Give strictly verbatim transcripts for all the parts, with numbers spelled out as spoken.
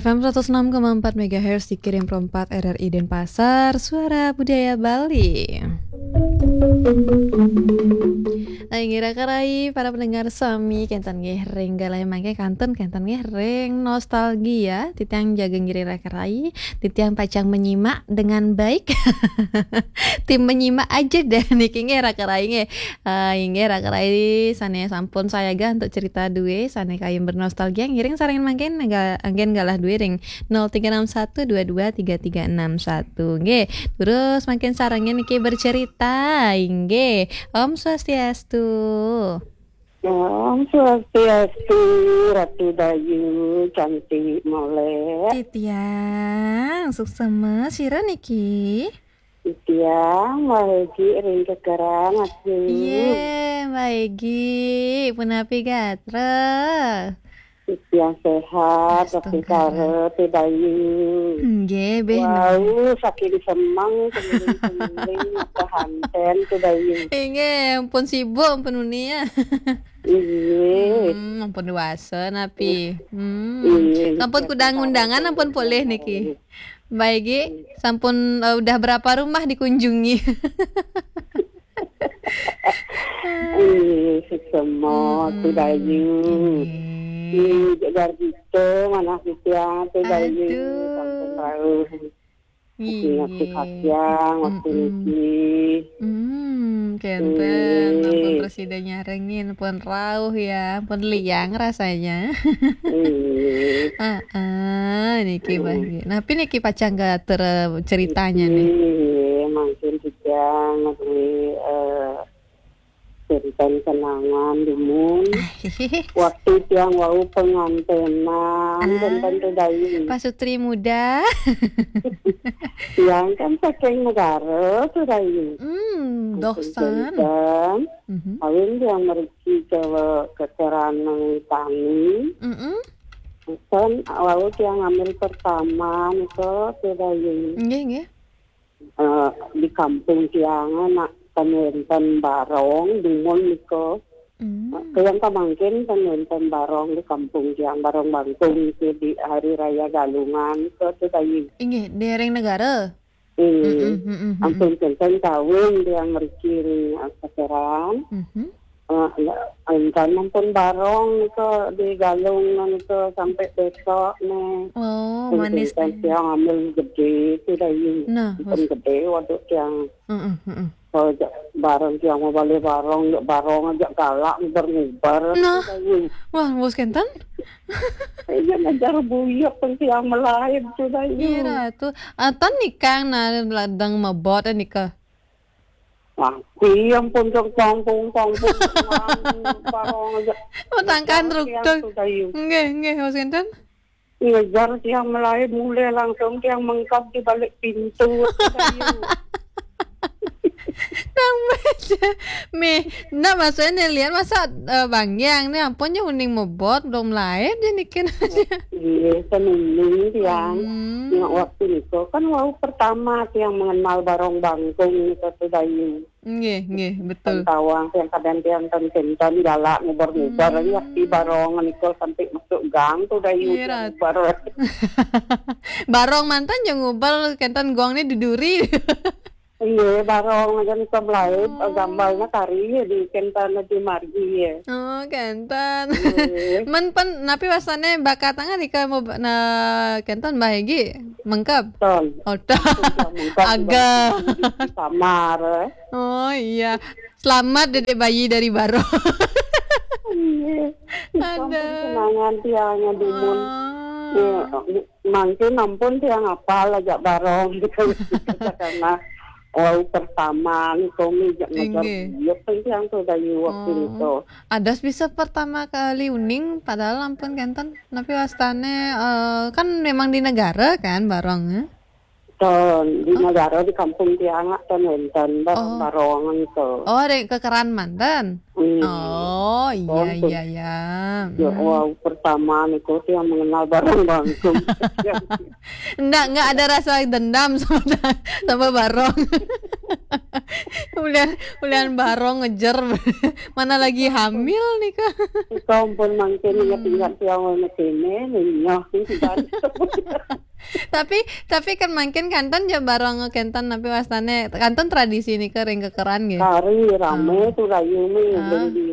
F M seratus enam koma empat megahertz dikirim perempat R R I Denpasar, Suara Budaya Bali. Nah, inggih raka-rai, para pendengar sami, kenten nggih ring galah mangke kantun kenten nggih ring nostalgia, titiang jaga ngiring raka-rai, titiang pacang menyimak dengan baik. Tim menyimak aja deh niki nggih raka-rai nggih. Ah, inggih raka-rai sane sampun sayaga untuk cerita duwe sane kayun bernostalgia ngiring sareng mangkin ga-, anggen galah duwe ring nol tiga enam satu dua dua tiga tiga enam satu. Nggih, terus mangkin sarengin niki bercerita. Inggih. Om Swastiastu. Om Swastiastu, Ratu Dayu, cantik molek. Titiang, suksema, sira niki? Titiang, Mbah Egi ring Kekeran, Atu. Ye, Mbah Egi, punapi gatra? Titiang sehat, Ratu Astagfirullah. Kara, Tu Dayu. Nggih, beh, Wau, nggih. Saking semeng, keliling-keliling, apa hanten, Tu Dayu. Inggih, ampun sibuk, ampun uni ya. Inggih. Hmm, ampun dewasa, napi. Hmm. Inggih, Sampun siap kudang undangan, sampun ampun polih niki. Baik, Gi. Sampun, eh, udah berapa rumah dikunjungi? Ih, sesemo, Hmm, Tu Dayu. Inggih. Ih, jagar kita, mana kita, Tu Dayu. Aduh. Sampun tahu. Inggih. Ingat kasiang, waktu Mm-mm. Niki. Hmm, kenten. Ampun Inggih. Presida nyarengin, ampun rauh ya, ampun liang rasanya. Inggih. Ah, ah, niki, Mbah, Hmm. Gi. Napi niki pacang gatur ceritanya nih? Inggih, mangkin titiang ngaturi, eh, cerita kenangan dumun. Ah, hehehe. Waktu tiang wau pengantenan, Ah. Kenten, Tu Dayu. Pasutri muda. Tiang kan saking negara, Tu Dayu. Hmm, doh san. Kenten. Mhm. Kawin tiang mriki ke, ke Kekeran Tani. Mm-mm. Kan wau tiang ngambil pertama nika, Tu Dayu. Nggih, nggih. Eh, di kampung tiang, nak, ten wenten barong, dumun nika. Hmm. Tiang kamangkin ten wenten barong di kampung tiang, barong bangkung niki di Hari Raya Galungan nika, Tu Dayu. Inggih, di ring negara? Inggih. Mm-mm, mm-mm, mm-mm. Ampun kenten kawin tiang mriki ring Kekeran. Mhm. Eh, ya, entan ampun barong nika di Galungan nika sampai besok nih. Oh, manis nih. Tiang ambil gede, Tu Dayu. Nah, ampun gede, waduh tiang. Heeh, heeh. Oh, jak bareng tiang mau balik barong, jak barong aja galak ngubar-ngubar, nah. Tu Dayu. Wah, bos kenten? Iya, ngajar buyuk pun tiang melaib, Tu Dayu. Iya, Ratu. Atan nikang, nah, ladang mabot, eh, nikah. Wah, iya ampun, dong, tongpung, tongpung, barong aja. Matangkan. Ngajar tiang, rukun. Tu Dayu. Nggih, nggih, bos kenten? Ngejar tiang melaib, mulai langsung tiang mengkap di balik pintu, Tu Dayu. Nang baca. Mih, ndak maksudnya nih, lihat masa, eh, Bang Yang nih, ampun, ya uning mebot, belum lahir, dia nikin aja. Iya, senuning tiang. Hmm. Yang waktu itu kan wau pertama tiang mengenal barong bangkung itu, Tu Dayu. Nggih, nggih, betul. Tawang tiang kadang tiang ten kenten galak ngubar-ngubar, hmm, ya, di barong niku sampai masuk gang, Tu Dayu. Iya, tiang Rat. Ngubar. Barong mantan yang ngubar kenten gong nih duduri. Iya, barong aja nih, melaib, oh, gambarnya kari ya di kenten di margi ya. Oh, kenten. Iya. Men pen, napi wasane bakat tangah nika mau ba-, nah, kenten Mbah Egi? Mengkep? Ton. Oh, ton. Mengkep. Agak. Di, di kamar, eh. Oh, iya. Selamat dedek bayi dari barong. Iya. Ada. Ampun, kenangan tiangnya dumun. Oh. Iya, mangkin ampun tiang apal aja barong gitu. Karena wau pertama nih, kami jak ngajar. Inggih. Buyuk kan tiang, Tu Dayu, waktu, oh, itu. Adas bisa pertama kali uning, padahal ampun kenten. Tapi wastane, eh, kan memang di negara kan, barong, eh? Ton, di, oh, negara di kampung tiang, ton wenten, bar-, oh, barongan itu. Oh, di Kekeran manten? Hmm. Oh, iya, ton, ton. Iya, iya. Ya, hmm. Wau pertama niku tiang mengenal barong bangkung. Ndak, nggak ada rasa dendam sama, sama barong. Ulian, ulian barong ngejer. Mana lagi hamil nih, Kak? Iko ampun mangkin ingat-ingat tiang ono kene, nyoh, nih, tiban. Tapi, tapi kan mangkin kanten ja barong kenten, tapi wastane kanten tradisi nika ring kekeran nggih. Kari rame. Ah. Tu dayu nih, Ah. Beli,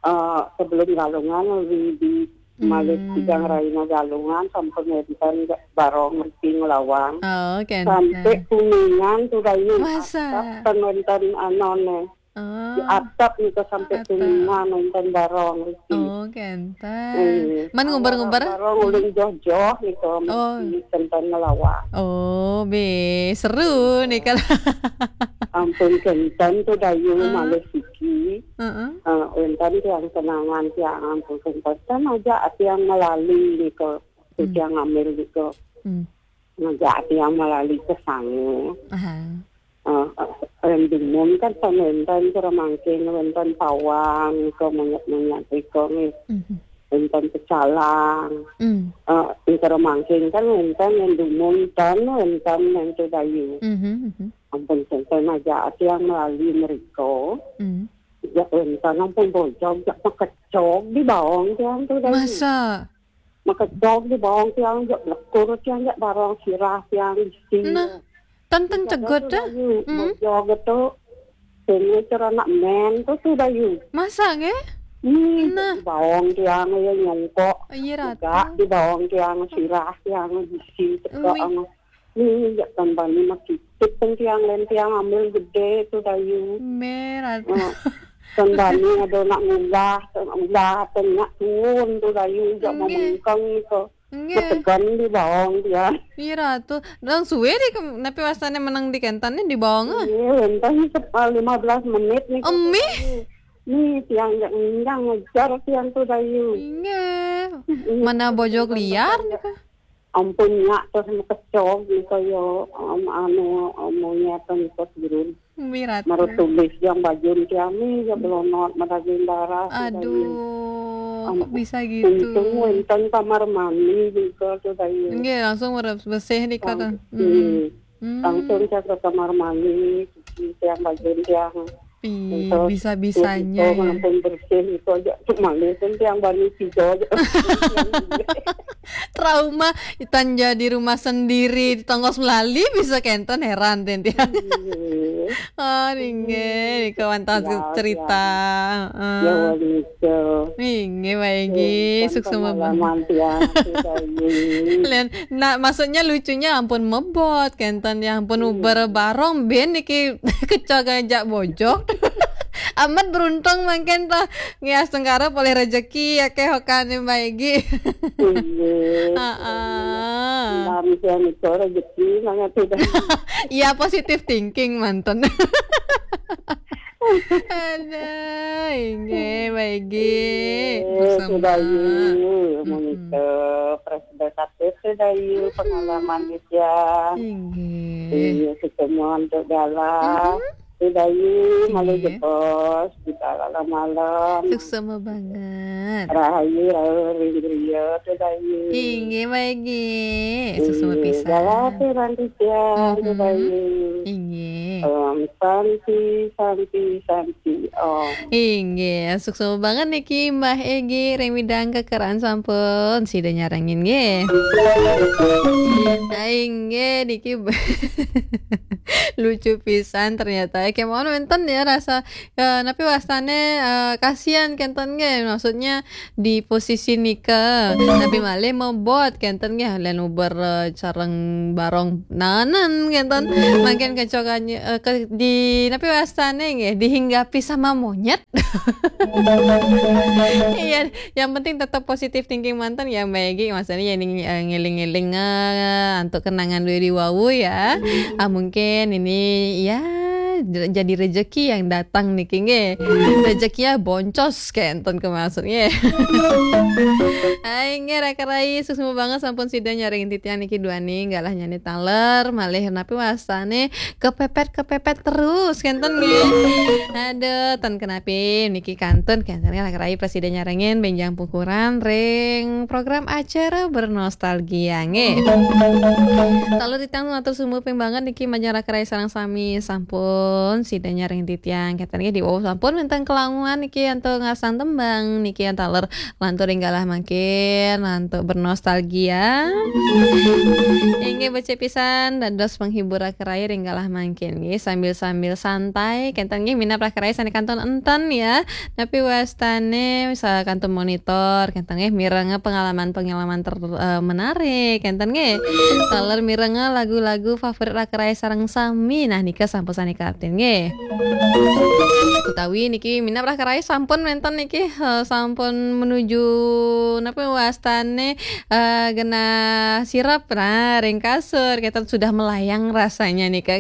eh, sebelum Galungan, di, di Malih Hmm. Tigang Raina Galungan, sampun wenten barong mriki nglawang. Oh, kenten. Sampai Kuningan tu dayu. Masa? Atap ten wenten anone. Oh. Di atap nika sampai Atap. Kuningan wenten barong mriki. Oh, kenten. Eh, Man nguber-nguber? Barong ulun joh-joh nika Oh. mriki kenten nglawang. Oh, be, seru nih kalau. Ampun kenten tu dayu. Ah. Malih siki. Heeh. Eh, wenten tiang kenangan tiang ampun kenten aja tiang melali nika. Hmm. Tiang ngambil nika. Hmm. Ngajak tiang melali ke sangu. Aha. Eh, eh, ring dumun kan wenten kira mangkin, wenten pawang, nika monyet-monyet nika nih. Mhm. Wenten pecalang. Hmm. Eh, nika mangkin kan wenten ring dumun ten, wenten ning tu dayu. Mhm, mhm. Ampun kenten aja tiang melali mriko. Hmm. Ya wenten ampun bojog, ya makecog di baong tiang tu dayu. Masa? Makecog di baong tiang, ya blekur tiang, ya barong sirah tiang isi. Nah, ten ten cegot dah. Dayu, hmm. Bojog tu. Sing cara anak men tu, tu dayu. Masa nggih? Nih, nah. Di baong tiang ya nyongkok. Iya, Ratu. Juga di baong tiang sirah tiang isi tegak. Ui. Nih, ya tambani makitip pun tiang len tiang ambil gede tu dayu. Merah. Nah, tambani ada nak ngulah, nak ngulah, nak tuun tu dayu, ya mau Nggih. Mengkeng tu. Nggih. Ketegan di baong tiang. Iya, Ratu. Nang suwe di ke-, napi wastane menang di kenten di baong, ah? Iya, wenten sep-, eh, lima belas menit nih. Emih? Nih, tiang nggak ngejar tiang tu dayu. Nggih. Mm-mm. Mana bojog liar nih, Kak? Ampun, nyak terus makecog nih kaya, em, anu, em, monyet nih kok turun. Mirat. Marut tulis yang bajun tiang nih, ya belonot, madaging darah, Aduh, kok bisa gitu? Untung wenten kamar mandi juga tu dayu. Nggih, langsung bersih nih, Kak. Langsung, hmm. Hmm. Langsung saya ke kamar mandi, cuci tiang bajun tiang. Ih, bisa-bisanya ya. Langsung bersih itu aja, cuma itu tiang bani tiga aja. Trauma, itan jadi rumah sendiri, di tongos melali bisa kenten, heran ten tiang. Iya. Oh, ninggih, nika wantah cerita. Heeh. Ya, wali itu. Ninggih, Mbak Egi, sukses pengalaman tiang, sudah ini. Len, nah, maksudnya lucunya ampun mebot, kenten ya, ampun uber barong, ben niki kecok aja bojog. Amat beruntung mangkin toh. Nggih, astungkara polih rejeki ya, keh, hokane Mbak Egi. Iya. Heeh. Nah, misalnya itu rejeki, nang ati dah. Iya, positive thinking manten. Aduh, inggih, Mbak Egi. Iya, sudah, iya. Menika, Presiden Katis, sudah, iya, pengalaman dia. Inggih. Iya, ketemuan tu dalam. Sudayu, malu jebos, kita malam-malam. Suksma banget. Rahayu, rahayu, ring griya, Sudayu. Inggih, Mbak Egi. Suksma pisan. Galah, Sudayu. Inggih. Om Santi, Santi, Santi, Om. Inggih, suksma banget niki Mbah Egi, ring midang kekeran sampun sida nyarengin nggih. Nah, inggih niki lucu pisan ternyata. Kemawon wenten ya rasa, eh, napi wastane, eh, kasihan kenten nggih. Maksudnya di posisi nika, napi malih mebot kenten nggih, len uber, eh, sareng barong nanan kenten. Mangkin kecokane, eh, ke, di napi wastane nggih, dihinggapi sama monyet. Iya, yang penting tetap positive thinking manten ya, Mbak Egi. Maksudnya ya, ning, eh, ngeling-ngeling, eh, antuk kenangan dua ribu ya. Ah, mungkin ini ya j-, jadi rezeki yang datang niki nggih. Rezekinya boncos kenten ke maksudnya. Hai, nggih, raka rai, suksma banget sampun sida nyarengin titiang niki duaning, galah nyane taler, malih napi wastane kepepet-kepepet terus, kenten nggih. Aduh, ten kenapi niki kantun, kenten raka rai prasida nyarengin benjang pungkuran ring program acara bernostalgia nggih. Taler titiang matur suksma banget niki majeng raka rai sareng sami sampun Pun sida nyaring titiang kenten nggih, di wau sampun wenten kelaungan niki antuk ngarasang tembang niki antuk taler lantur ring galah mangkin antuk bernostalgia. Inggih becik pisan dados penghibur raka rai ring galah mangkin nggih, sambil-sambil santai kenten nggih, minab raka rai sane kantun enten ya. Napi wastane bisa kantun monitor kenten nggih, mirenga pengalaman-pengalaman ter-, eh, menarik kenten nggih. Taler mirenga lagu-lagu favorit raka rai sareng sami. Nah, nika sampun sane kapten nggih. Utawi niki minab raka rai sampun wenten niki, eh, sampun menuju napa wastane, eh, genah sirep, nah, ring kasur, kenten sudah melayang rasanya nika.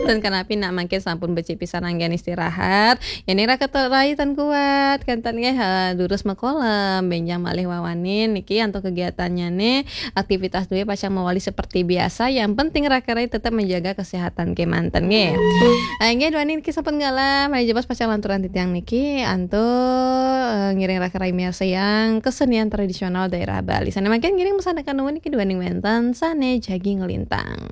Dan kanapi nak mangkin sampun becik pisan anggen istirahat. Yen raka rai tan kuat, kenten nggih, eh, durus makolem, benjang malih wawanin niki antuk kegiatannyane, aktivitas duwe pacang mawali seperti biasa. Yang penting raka rai tetap menjaga kesehatan kemanten nggih. Eh, nggih, duaning niki sampun galah, malih jebos pacang lanturan titiang niki antuk, eh, ngiring raka rai miarsayang kesenian tradisional daerah Bali. Sane mangkin ngiring masandekan nuwun niki duaning wenten sane jagi nglintang.